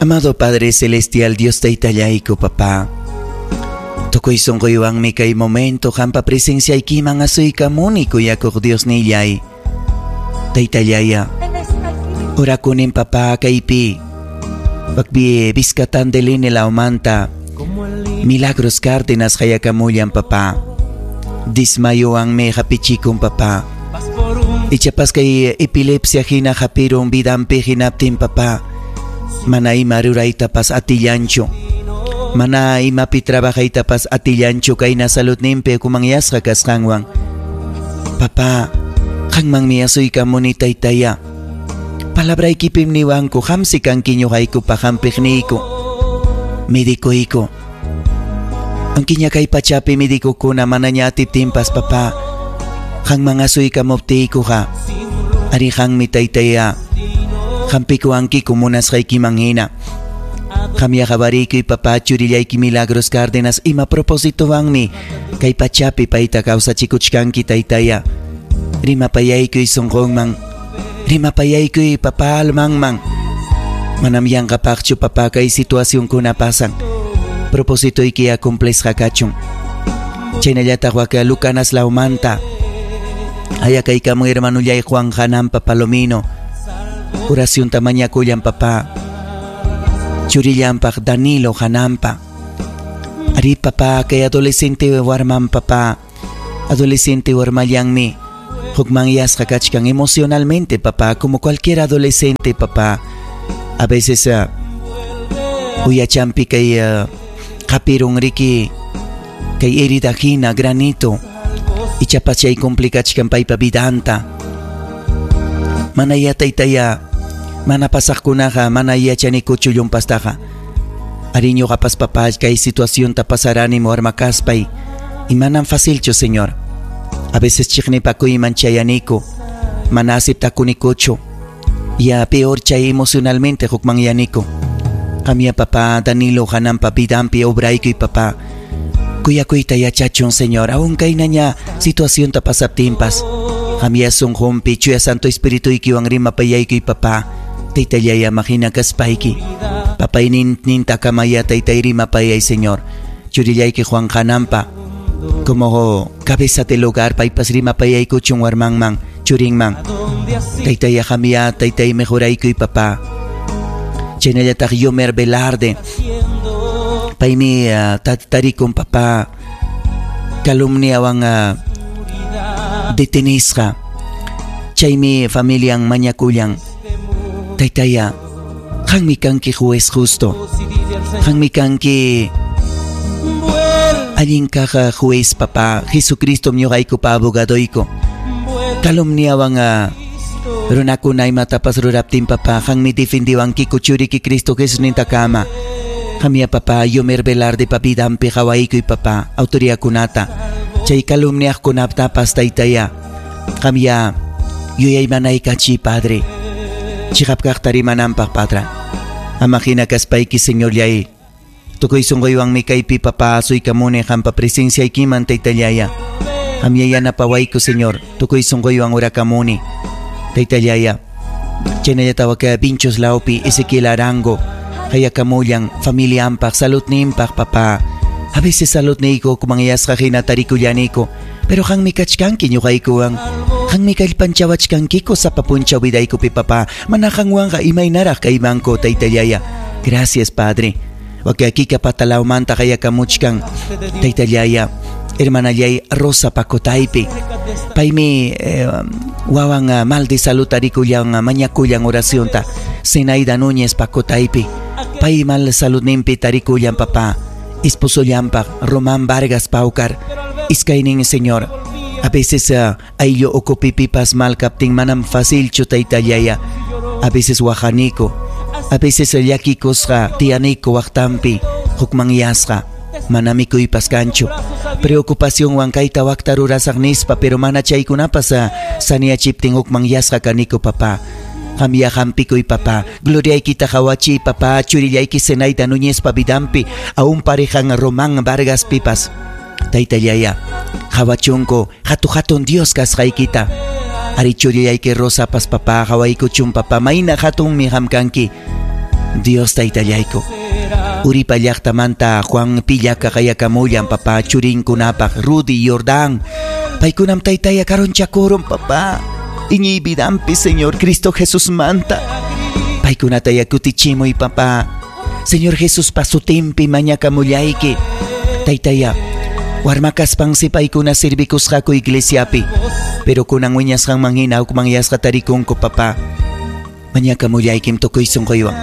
Amado Padre Celestial, Dios taytallayku, papá. Tukuy sunquywanmi kay momento qampa presenciaykiman asuykamuni kuyakuq Diosnillay. Taytallaya, orakunin papá kaypi. Wakpi Vizcatandelini lawmanta Milagros Cárdenas qayakamullan papá. Dismayowanmi hapichikun papá. Ichapas kay epilepsia hina hapirun vidanpi hinaptin papá. Mana ima ruraytapas atillanchu. Mana imapi trabajaytapas atillanchu kayna saludninpi kumanyasqa kasqanwan. Papá, qanmanmi asuykamuni taytaya. Palabraykipim niwanku qamsi kanki ñuqaykupa hampiqniyku. Medicuyku. Ankiña kay pachapi medicukuna manaña atiptinpas papá. Qanman asuykamuptiykuqa. Ari qanmi taytaya. Hampikuwankiku munasqaykiman hina. Qamya qawariykuy papá churillayki Milagros Cárdenas ima propósitowanmi kay pachapi payta kawsachikuchkanki taytaya. Rimapayaykuy sunqunman. Rimapayaykuy papá almanman. Manam yanqapaqchu papá kay situacionkuna pasan. Propósitoyki cumplisqa kachun. Chaynallataq waka Lucanas lawmanta. Ayakaykamun hermanullay Juan Hanampa Palomino. Oracionta mañakullan papá. Churillanpaq Danilo Hanampa. Ari papá kay adolescente warman papá. Adolescente warmallanmi. Hukmanyasqa kachkan emocionalmente papá, como cualquier adolescente papá. A veces uyachampi kay hapirun riki kay herida hina granito. Ichapas chay complicachkan paypa vidanta. Mana taytaya, mana pasaqkunaqa, mana yachanikuchu llumpastaqa. Ari ñuqapas papá kay situacionta pasarani warma kaspay. Y manam facilchu, Señor. A veces chiqnipakuyman chayaniku, mana aceptakunikuchu. Ya peor chay emocionalmente hukmanyaniku. Qamya papá Danilo hanampa vidanpi obraykuy papá. Kuyakuyta yachachun, Señor, aun kaynaña situacionta pasaptinpas. Qamya sunqunpi chuya Santo Espirituykiwan rimapayaykuy papá. Taytallaya mahina kaspayki. Papaynin nintakamaya taytay rimapayay, Señor. Churillayki Juan Hanampa. Como cabeza del hogar paypas rimapayaykuchun warmanman, churinman. Taytaya qamya taytay mejoraykuy papá. Chaynallataq Yomer Velarde. Paymi tarikun papá calumniawan detenisqa. Chaymi familian mañakullan. Taytaya, qanmi kanki juez justo. Qanmi kanki allin kaq juez papá. Jesucristo ñuqaykupa abogadoyku. Calumniawan runakuna imatapas ruraptin papá, qanmi defendiwankiku churiki Cristo Jesusnintakama. Qamya papá, Yomer Velarde pa vidanpi qawaykuy papá, autoridadkunata. Chay calumniaqkunatapas taytaya. Qamya yuyaymanaykachi Padre. Chiqap kaqta rimananpaq Padre. Ama hina kaspayki Señorllay. Tukuy sunquywanmi kaypi papá asuykamuni qampa presenciaykiman taytallaya. Qamya yanapawayku Señor, tukuy sunquywan urakamuni. Taytallaya. Chaynallata waka Vinchos lawpi Ezequiel Arango. Hayakamullan familianpaq saludninpaq papá. A veces saludniyku kumanyasqa hina tarikullaniku, pero qanmi kachkanki ñuqaykuwan. Qanmi kallpanchawachkankiku sapa punchaw vidaykupi papá. Mana qanwanqa imaynaraq kaymanku taytallaya. Gracias Padre. Waka kika patalawmanta hayakamuchkan taytallaya. Hermanallay Rosa Pacotaypi. Paymi wawan mal de salud tarikullan mañakullan oracionta. Zenaida Núñez Pacotaypi. Pay mal saludninpi tarikullan papá. Esposollanpaq Román Vargas Paucar. Iskaynin Señor. A veces ayllu ukupipipas mal kaptin manam facilchu taytallaya. A veces waqaniku. A veces llakikusqa tiyaniku waqtanpi hukmanyasqa. Mana mikuypas kanchu. Preocupacionwan kayta wakta rurasaq nispa, pero mana chaykunapas saniyachiptin hukmanyasqa kaniku papá. Qamya hampikuy papá. Gloriaykita qawachiy papá. Churillayki Zenaida Núñezpa vidanpi. Aún parejan Román Vargas pipas. Taytallaya, qawachunku hatu hatun Dios kasqaykita. Ari churillayki Rosapas papá qawaykuchun papá. Mayna hatunmi qam kanki. Dios taytallayku. Uripa llaqtamanta Juan Pillaka qayakamullan papá churinkunapaq Rudy Jordán. Paykunam taytaya karunchakurun papá. Iñiy vidampi Señor Cristo Jesús manta. Paykunata kutichimuy papá. Señor Jesús pasutimpi mañakamullayki. Taytaya warmakaspansi paykuna sirvikusqaku iglesiapi. Pero kunan wiñasqanman hina hukmanyasqa tarikunku papá. Mañakamullaykim tukuy sunquywan.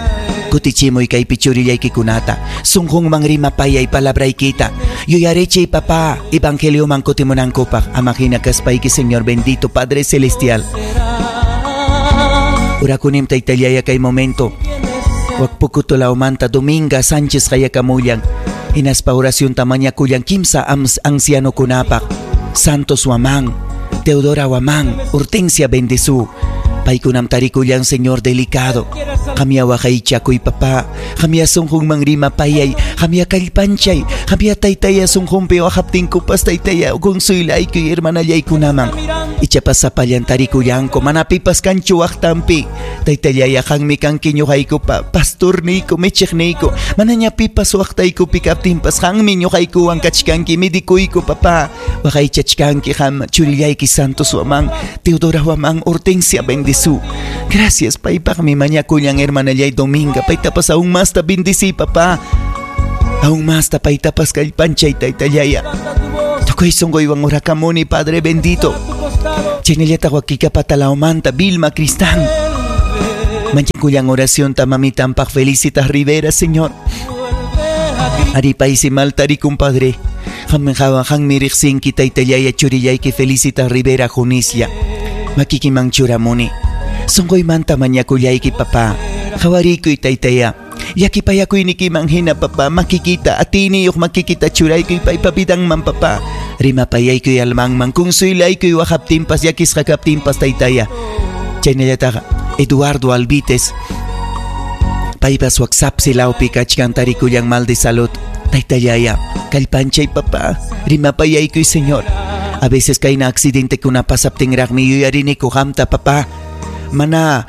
Kutichimuy kaypi churillaykikunata. Sunqunman rimapayay palabraykita. Yuyarichiy papá evangelioman kutimunankupaq. Ama hina kaspayki Señor bendito Padre Celestial. Urakunim taytallaya kay momento. Wak Pukutulaumanta Dominga Sánchez qayakamullan. Hinaspa oracionta mañakullan kimsa ancianokunapaq. Santos Huamán, Teodora Huamán, Hortensia Bendezú. Paykunam tarikullan Señor delicado. Qamya waqaychakuy papá. Qamya sunqunman rimapayay. Qamya kallpanchay. Qamya taytaya sunqunpi waqaptinkupas taytaya consuylaykuy hermanallaykunaman. Ichapas sapallan tarikullanku mana pipas kanchu waqtanpi. Taytallaya qanmi kanki ñuqaykupa pastorniyku michiqniyku. Manaña pipas waqtaykupi kaptinpas qanmi ñuqaykuwan kachkanki midikuyku papá. Waqaychachkanki qam churillayki Santos Huamán, Teodora Huamán, Hortensia Bendezú. Gracias paypaqmi mañakullan hermanallay Dominga. Paytapas aún más ta bendicí papá. Aún más ta paytapas kallpanchay taytallaya. Tukuy sunquywan urakamuni Padre bendito. Chaynallata wakika patalaumanta Vilma Cristán. Mañakullan oración ta mamitampaq Felicitas Rivera, Señor. Aripaysi maltari compadre. Qammi riqsinki taytallaya churillayki Felicitas Rivera Junislla. Makikiman churamuni. Sunquymanta mañakullayki papá. Qawarikuy taytaya. Llakipayakuynikiman hina papá. Makikita atiniyuq makikita churaykuy paypa vidanman papá. Rimapayaykuy almanman kunsuylaykuy waqaptinpas llakisqa kaptinpas taytaya. Chaynallataqa Eduardo Alvites. Paypas WhatsApp silawpi kachkan tarikullan mal de salud. Taytallaya, kallpanchay papá. Rimapayaykuy Señor. A veces kayna accidentekuna pasaptinraqmi yuyariniku qamta papá. Mana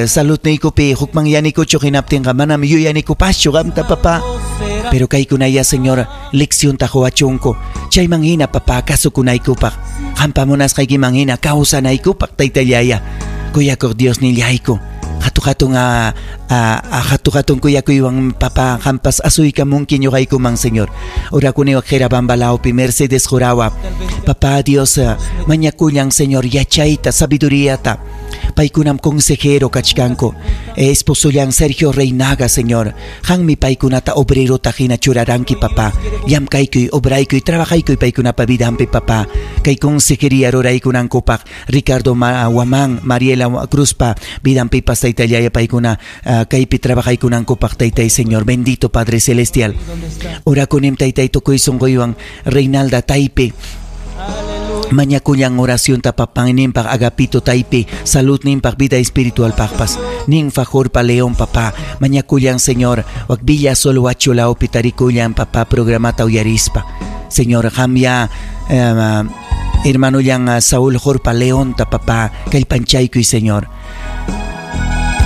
saludniykupi hukmanyanikuchu hinaptinqa manam yuyanikupaschu qamta papá. Pero kaykunaya Señor leccionta quwachunku. Chayman hina papá kasukunaykupaq. Qampa munasqaykiman hina kawsanaykupaq taytallaya. Kuyakuq Dios nillayku. Hatu-hatun hatu-hatun kuyakuywan papá qampas asuykamunki ñuqaykuman Señor. Urakuni waqhira bambalawpi Mercedes Jurawa. Papá Dios mañakullan Señor yachayta sabiduriyata. Paykunam consejero kachkanku. Esposollan Sergio Reinaga, Señor. Qanmi paykunata obrerota hina churaranki papá. Llamkaykuy, obraykuy, trabajaykuy paykunapa vidanpi papá. Kay consejería ruraykunankupaq Ricardo Huamán, Mariela Cruzpa vidanpipas taytallaya paykuna kaypi trabajaykunankupaq taytay Señor. Bendito Padre Celestial. Orakunim taytay tukuy sunquywan Reinalda Taype. Mañakullan oración papaninpaq Agapito Taype, salud ninpaq vida espiritual paqpas. Ninfa Jorpa León papá, mañakullan Señor, wak Villa Sol Huachulaupi tarikullan papá programata uyarispa. Señor, qamya hermanollan Saúl Jorpa Leonta papá, kallpanchaykuy Señor.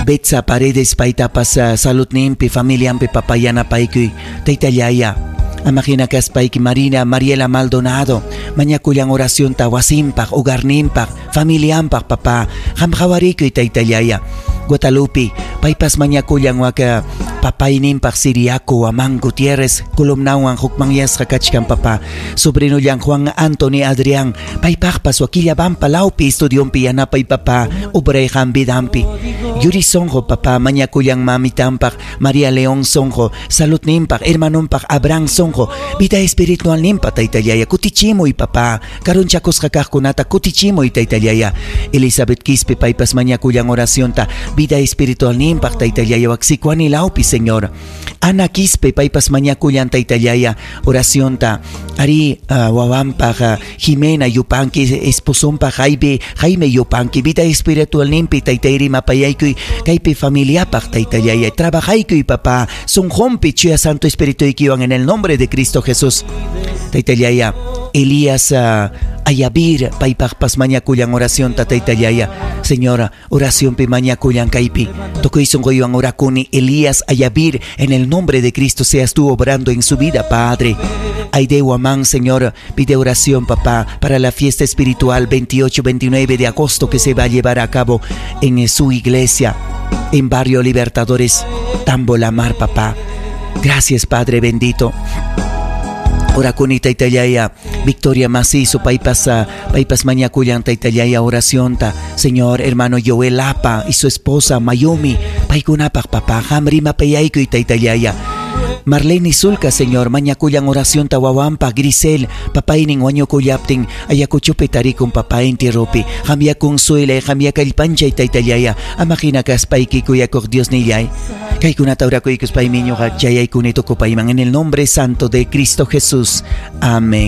Betsa Paredes paytapas salud ninpi familiampi papá yanapaykuy taytallaya. Amahina kaspayki Marina Mariela Maldonado, mañakullan oracionta wasimpaq, hogarninpaq, familiampaq papá, qam qhawarikuy taytallaya. Guadalupe, paypas mañakullan waka papayninpaq Siriaco Huamán Gutiérrez, columnawan hukmanyasqa kachkan papá. Sobrinollan Juan Anthony Adrián, paypaqpas wakillabampa lawpi estudionpi yanapay papá, obrayqan vidampi. Yuri Sonjo papá, mañakullan mamitampaq María León Sonjo, saludninpaq, hermanonpaq Abraham Sonjo, vida espiritual ninpa taytallaya, kutichimuy papá, karunchakusqa kaqkunata kutichimuy taytallaya. Elizabeth Quispe paypas mañakullan oracionta, vida espiritual ninpaq taytallaya waksikuani lawpi Señor. Ana Quispe paypas mañakullan taytallaya oracionta, ari wawampaq Jimena Yupanqui esposonpaq Jaime Yupanqui vida espiritual ninpi taytay rimapayaykuy kaypi familiapaq taytallaya trabajaykuy papá sunqunpi chuya Santo Espíritu ikiwan en el nombre de Cristo Jesús. Taytallaya, Elías Ayavir, paypaqpas mañakullan oracionta taytallaya. Señora, oracionpi mañakullan kaypi. Tukuy sunquywan orakuni Elías Ayavir, en el nombre de Cristo seas tú obrando en su vida, Padre. Aide Guamán, Señor, pide oración, papá, para la fiesta espiritual 28-29 de agosto que se va a llevar a cabo en su iglesia, en Barrio Libertadores, Tambolamar, papá. Gracias, Padre bendito. Orakuni taytallaya, Victoria Macizo, paypas, paypas mañakullan taytallaya oracionta. Señor, hermano Joel Lapa y su esposa Mayumi, paykunapaq papá, qam rimapayaykuy taytallaya. Marlene Sulca, Señor, mañakullan oracionta wawampa, Grisel, papaynin wañukullaptin, Ayacuchopi tarikun papá entierropi, qamyá consuelay, qamyá kallpanchay taytallaya, ama hina kaspayki kuyakuq Diosnillay. Kaykunata orakuykuspaymi ñuqa chayaykuni tukupayman en el nombre santo de Cristo Jesús. Amén.